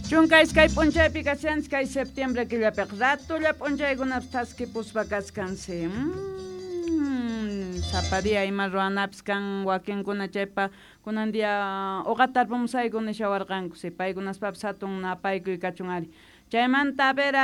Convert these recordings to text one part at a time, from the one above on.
12 p'unchaypi kashanchis kay septiembre killapiqa ratulla p'unchaykunapas thaskipuspa kaskansi. Sapa día ima ruwanapis kan wakinkuna chaypa kunan día uqata tarpumusayku nishawarqanku paykunaspapis hatun napaykuy kachun ari. Chaymanta a ver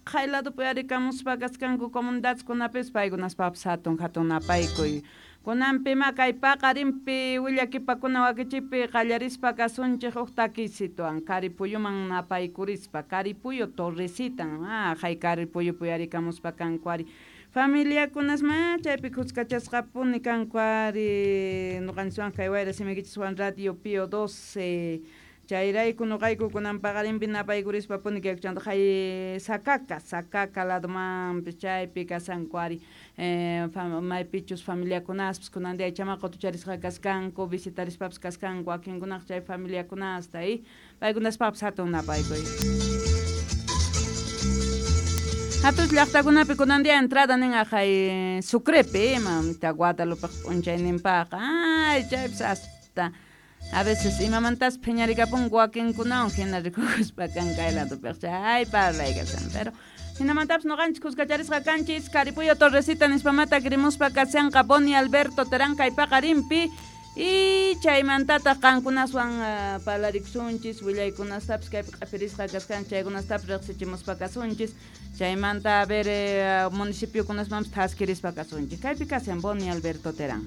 qhay ladopi arikamuspa kaskanku comunidadkunapis paykunaspapis hatun hatun napaykuy. Kunanpima kay paqarinpi willakipakuna wakichipi qallarispa kasunchik huk takisituwan Karipuyuman napaykurispa Karipuyu Torresitan hay Karipuyupi arikamuspa kanku ari. Familiakunasma chaypi kuskachasqapuni kanku ari ñuqanchiswan kay wayra simikichiswan Radio Pío 12 chayrayku ñuqayku kunan paqarinpi napaykurispa puni kaykuchanta hay Sacaca Sacaca ladomanpis chaypi kashanku ari maypichus familiakunaspis kunan día chama qutucharisqa kaskanku visitarispapis kaskanku wakinkunaqa chay familiakunasta y paykunaspapis hatun napaykuy. Hatus llaqtakunapi kunan día entrada nin aqhay Sucrepi mamita Guadalupe p'unchayninpaqa ay chaypis hasta a veces imamantas phiñarikapunku wakinkunawan hina rikukuspa kan kay ladopiqa chay parlay kashan pero hinamantapis ñuqanchis kuskacharisqa kanchis Karipuyo Torresita nispamata kirimuspa kashanqa Boni Alberto Terán kay paqarinpi y chaymantataq qankunaswan parlarikusunchis willaykunastapis kaypi q'apirisqa kaskan chaykunastapis riqsichimuspa kasunchis chaymanta a ver municipiokunasmanpis thaskirispa kasunchis kaypi kashan Boni Alberto Terán.